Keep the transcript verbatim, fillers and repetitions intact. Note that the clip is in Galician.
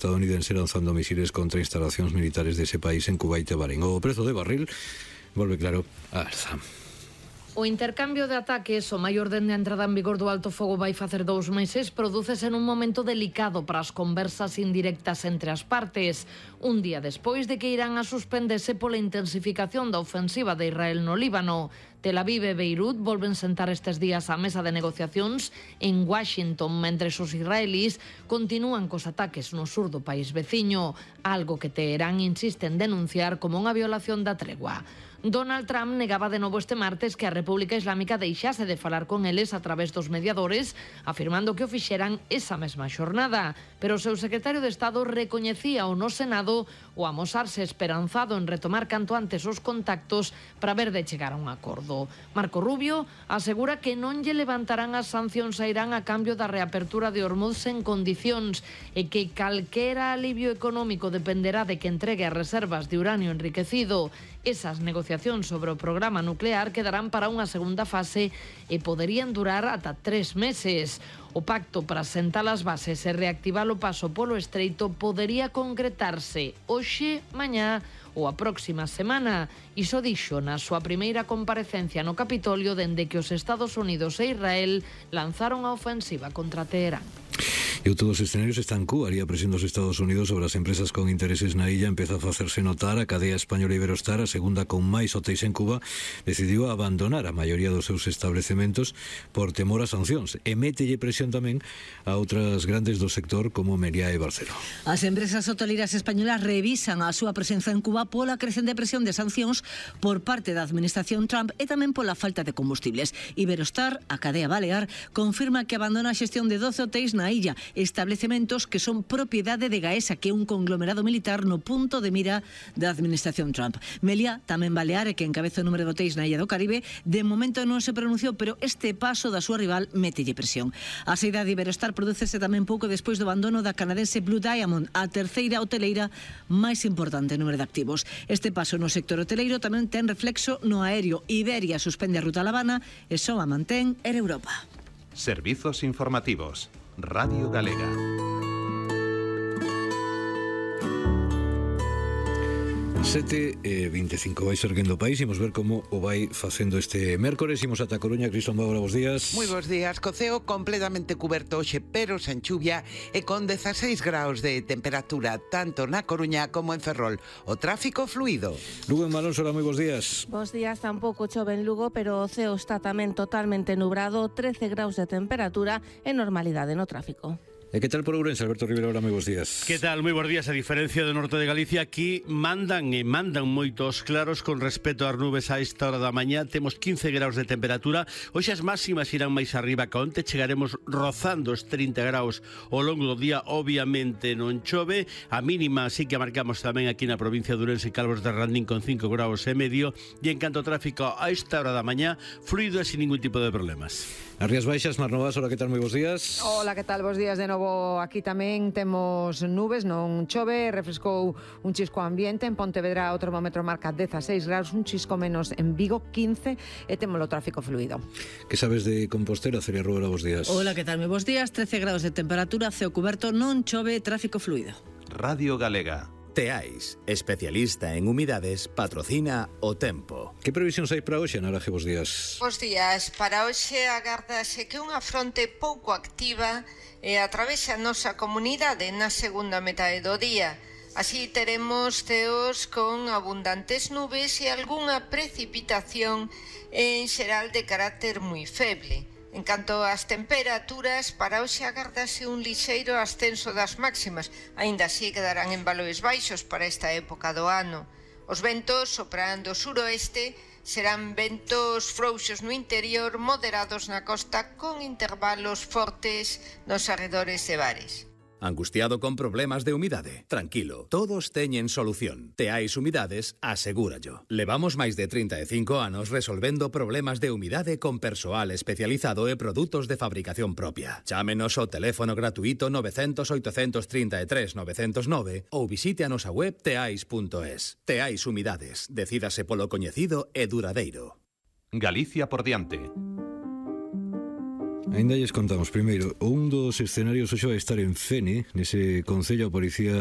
estadounidense lanzando misiles contra instalacións militares dese país en Kuwait e Bahrein. O prezo de barril volve claro a alza. O intercambio de ataques, o maior dende a entrada en vigor do alto fogo vai facer dous meses, prodúcese nun momento delicado para as conversas indirectas entre as partes. Un día despois de que Irán a suspendese pola intensificación da ofensiva de Israel no Líbano. Tel Aviv e Beirut volven sentar estes días á mesa de negociacións en Washington, mentre os israelís continúan cos ataques no sur do país veciño, algo que Teherán insiste en denunciar como unha violación da tregua. Donald Trump negaba de novo este martes que a República Islámica deixase de falar con eles a través dos mediadores, afirmando que o fixeran esa mesma xornada. Pero o seu secretario de Estado recoñecía no Senado o amosarse esperanzado en retomar canto antes os contactos para ver de chegar a un acordo. Marco Rubio asegura que non lle levantarán as sancións a Irán a cambio da reapertura de Hormuz en condicións e que calquera alivio económico dependerá de que entregue as reservas de uranio enriquecido. Esas negociacións sobre o programa nuclear quedarán para unha segunda fase e poderían durar ata tres meses. O pacto para sentar as bases e reactivar o paso polo estreito podería concretarse hoxe, mañá ou a próxima semana. Iso dixo na súa primeira comparecencia no Capitolio dende que os Estados Unidos e Israel lanzaron a ofensiva contra Teherán. E todos os escenarios están Cuba e a presión dos Estados Unidos sobre as empresas con intereses na illa empeza a facerse notar. A cadea española Iberostar, a segunda con máis hotéis en Cuba, decidiu abandonar a maioría dos seus establecementos por temor a sancións e mételle presión tamén a outras grandes do sector como Meliá e Barceló. As empresas hoteleiras españolas revisan a súa presenza en Cuba pola crecente presión de sancións por parte da administración Trump e tamén pola falta de combustibles. Iberostar, a cadea balear, confirma que abandona a xestión de doce hotéis na illa, establecementos que son propiedade de Gaesa, que é un conglomerado militar no punto de mira da administración Trump. Meliá, tamén balear, e que encabeza o número de hotéis na illa do Caribe, de momento non se pronunciou, pero este paso da súa rival mételle presión. A saída de Iberostar prodúcese tamén pouco despois do abandono da canadense Blue Diamond, a terceira hoteleira máis importante en número de activos. Este paso no sector hoteleiro tamén ten reflexo no aéreo. Iberia suspende a ruta a La Habana e só a mantén Air Europa. Servizos informativos. Radio Galega. sete e veinticinco vai serguendo o país. Imos ver como o vai facendo este mércores. Imos ata Coruña. Cristón Bábora, bos días. Moi bos días. Coceo completamente cuberto hoxe, pero sen chuvia e con dezaseis graus de temperatura tanto na Coruña como en Ferrol. O tráfico fluido. Lugo en Malónsora, moi bos días. Bos días. Tampouco chove en Lugo, pero o ceo está tamén totalmente nubrado, trece graus de temperatura e normalidade no tráfico. E que tal por Ourense, Alberto Rivera? Ahora, moi bos días. Que tal? Moi bos días. A diferencia do norte de Galicia, aquí mandan e mandan moitos claros con respecto ás nubes a esta hora da mañá. Temos quince graus de temperatura. Hoxe as máximas irán máis arriba que onte. Chegaremos rozando os trinta graus ao longo do día. Obviamente non chove. A mínima sí que a marcamos tamén aquí na provincia de Ourense e Calvos de Randín con cinco graus e medio. E en canto ao tráfico a esta hora da mañá, fluido e sin ningún tipo de problemas. As Rías Baixas, Mar Novas, hola, que tal? Moi bos días. Hola, que tal? Bos días de novo. Aquí tamén temos nubes, non chove, refrescou un chisco ambiente. En Pontevedra o termómetro marca dezaseis graus, un chisco menos en Vigo, quince, e temos o tráfico fluido. Que sabes de Compostela, Celia Rubera? Bos días. Hola, que tal? Moi bos días. trece graus de temperatura, ceo cuberto, non chove, tráfico fluido. Radio Galega. Teais, especialista en humidades, patrocina o tempo. Que previsións hai para hoxe, Naraje? Bos días. Bos días. Para hoxe agárdase que unha fronte pouco activa e atravesa a nosa comunidade na segunda metade do día. Así teremos ceos con abundantes nubes e algunha precipitación en xeral de carácter moi feble. En canto ás temperaturas, para hoxe agárdase un lixeiro ascenso das máximas, aínda así quedarán en valores baixos para esta época do ano. Os ventos soprarán do suroeste, serán ventos frouxos no interior, moderados na costa, con intervalos fortes nos arredores de bares. Angustiado con problemas de humidade? Tranquilo, todos teñen solución. Teais Humidades, asegúrallo. Levamos máis de trinta e cinco anos resolvendo problemas de humidade con persoal especializado e produtos de fabricación propia. Chámenos ao teléfono gratuito nove cero cero, oito tres tres, nove cero nove ou visite a nosa web teais punto es. Teais Humidades, decídase polo coñecido e duradeiro. Galicia por diante. Ainda lles contamos, primeiro, un dos escenarios hoxe vai estar en Fene, nese concello a policía